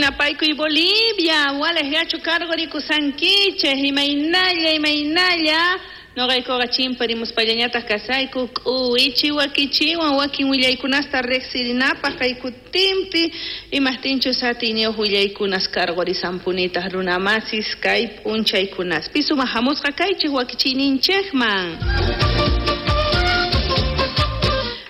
Yanapaykuy Bolivia, walej yachu karqurikushankichej, imaynalla, imaynalla. Noqaykuqa chimparimuspallañataq kasayku k'uwichi wakichiwan wakin willaykunasta riqsirinapaq kay kutinpi imajtinchus atiyniyuq willaykunas karqurisanpunitaq runamasis kay p'unchaykunaspi sumaq hamusqa kaychik wakichiyninchikman.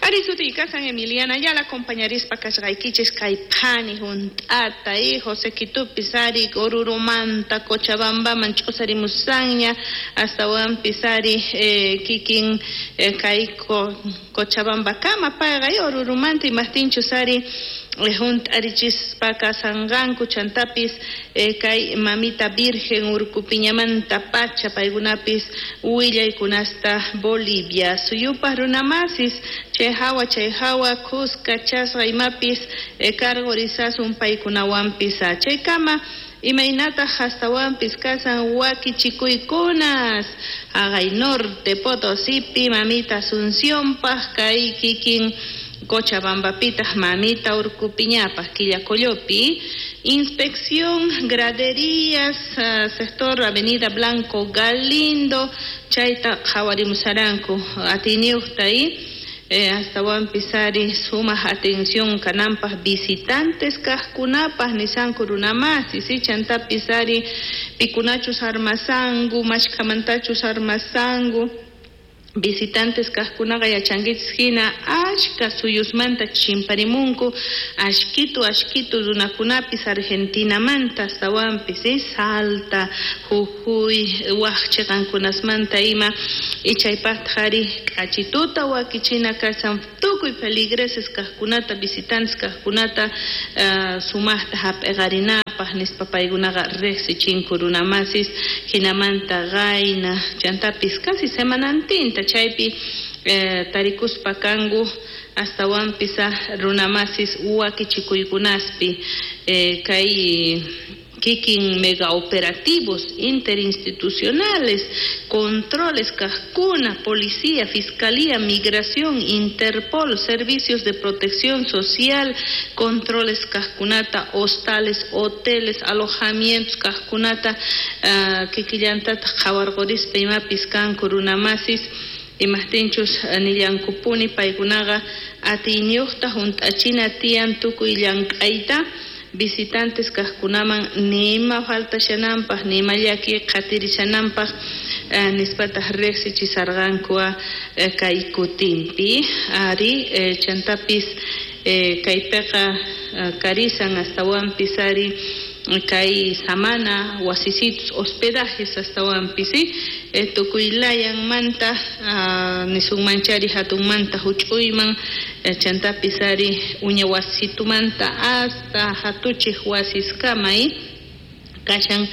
Ari sutiy kasan Emiliana Ayala acompañarispa kasqaykichis kay phani hunt'ata José Quitupis ari Orurumanta Cochabambaman ch'usarimusanña astawanpis ari kikin kay Cochabambakama payqa Orurumanta imajtinchus ari hunt'arichispa kasanqanku chantapis kay mamita Virgen Urcupiñamanta pacha paykunapis willaykunasta Bolivia suyupaq runamasis chay hawa kuska chasqa imapis karqurisasun paykunawanpis chaykama imaynataq astawanpis kasan wakichikuykunas haqay norte Potosipi mamita Asuncionpaq kay kikin Cochabambapitaq mamita Urcupiñapaq Quillacollopi inspección graderías sector Avenida Blanco Galindo chayta qhawarimusaranku atiyniyuqta astawanpis ari sumaq atención kananpaq visitantes kaqkunapaq nisanku runamasis chantapis ari pikunachus armasanku mashkhamantachus armasanku visitantes kaqkunaqa yachankichis hina achka suyusmanta chimparimunku ashkitu ashkitu runakunapis Argentinamanta astawanpis Salta, Jujuy, waq chiqankunasmanta ima ichaypaqtaq ari k'achituta wakichina kasan tukuy feligreses kaqkunata visitantes kaqkunata sumaqta hap'iqarinapaq nispa paykunaqa riqsichinku runamasis hinamanta qayna chantapis casi semanantinta chaypi tarikuspa kanku astawanpis runamasis wakichikuykunaspi kay kikin mega operativos interinstitucionales, controles kaqkuna, policía, fiscalía, migración, Interpol, servicios de protección social, controles kaqkunata, hostales, hoteles, alojamientos kaqkunata, kikillantataq qhawarqurispa imapis kanku runamasis imajtinchus nillankupuni paykunaqa atiyniyuqta hunt'achina tiyan tukuy llank'ayta visitantes kaqkunaman nima faltashananpaq nima llaki qhatirishananpaq nispataq riqsichisarqanku kay kutinpi ari chantapis kaypiqa karisan astawanpis ari kay samana wasisitos hospedajes astawanpis tukuy layanmanta nisunmanchari hatunmanta huch'uyman chantapis ari uña wasitumanta hasta hatuchij wasiskama kashan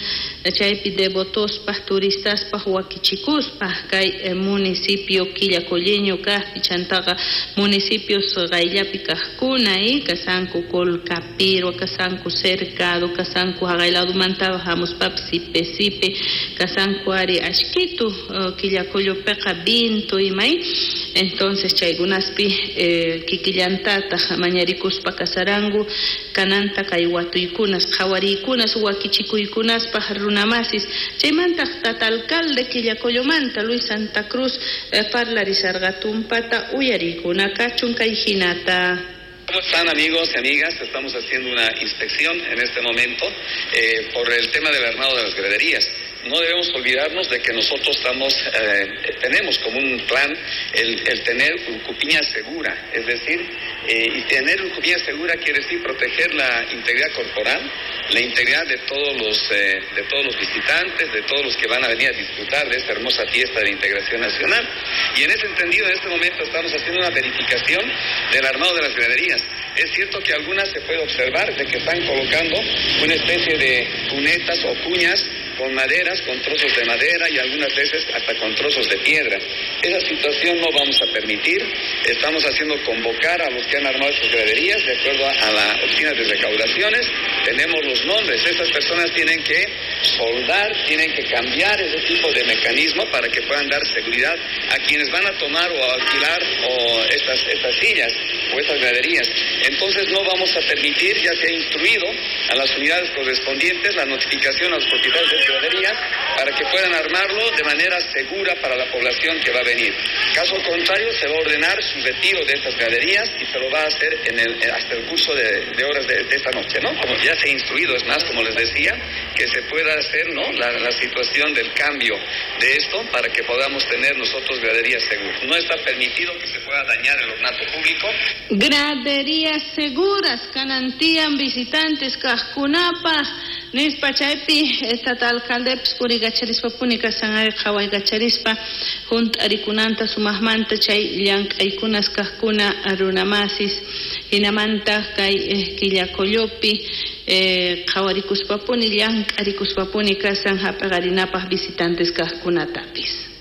chaypi devotospaq turistaspaq wakichikuspa kay municipio Quillacolleño kaqpi chantaqa municipios qayllapi kaqkuna kasanku Colcapirhua kasanku Cercado kasanku haqay ladumanta hamuspapis Sipe Sipe kasanku ari ashkitu Quillacollopiqa Vinto imay entonces chaykunaspi kikillantataq mañarikuspa kasaranku kananta kay watuykunas qhawariykunas wakichikuykunaspaq runamasis chaymantaq tata alcalde Quillacollomanta Luis Santa Cruz parlarisarqa tumpata uyariykuna kachun kay hinata. ¿Cómo están amigos y amigas? Estamos haciendo una inspección en este momento por el tema del armado de las graderías. No debemos olvidarnos de que nosotros tenemos como un plan el tener Urcupiña segura, es decir, y tener Urcupiña segura quiere decir proteger la integridad corporal, la integridad de todos los visitantes, de todos los que van a venir a disfrutar de esta hermosa fiesta de la integración nacional. Y en ese entendido, en este momento estamos haciendo una verificación del armado de las graderías. Es cierto que algunas se puede observar de que están colocando una especie de cunetas o cuñas con maderas, con trozos de madera y algunas veces hasta con trozos de piedra. Esa situación no vamos a permitir. Estamos haciendo convocar a los que han armado sus graderías de acuerdo a la oficina de recaudaciones. Tenemos los nombres. Estas personas tienen que soldar, tienen que cambiar ese tipo de mecanismo para que puedan dar seguridad a quienes van a tomar o a alquilar o estas sillas. o estas graderías. Entonces no vamos a permitir, ya se ha instruido a las unidades correspondientes la notificación a los propietarios de graderías para que puedan armarlo de manera segura para la población que va a venir. Caso contrario, se va a ordenar su retiro de estas graderías y se lo va a hacer en el, hasta el curso de horas de esta noche, ¿no? Como ya se ha instruido, es más, como les decía, que se pueda hacer, ¿no?, la situación del cambio de esto para que podamos tener nosotros graderías seguras. No está permitido que se pueda dañar el ornato público. Graderías seguras, kanantian visitantes kajkunapaj, nispa chaypi esta alcaldepis puriykacharispa kasan ari qhawaykacharispa junt'arikunanta sumaqmanta chay llank'aykunas kajkuna runamasis hinamanta kay Quillacollopi qhawarikuspapuni llank'arikuspapuni kasan hap'aqarinapaj visitantes kajkunatapis.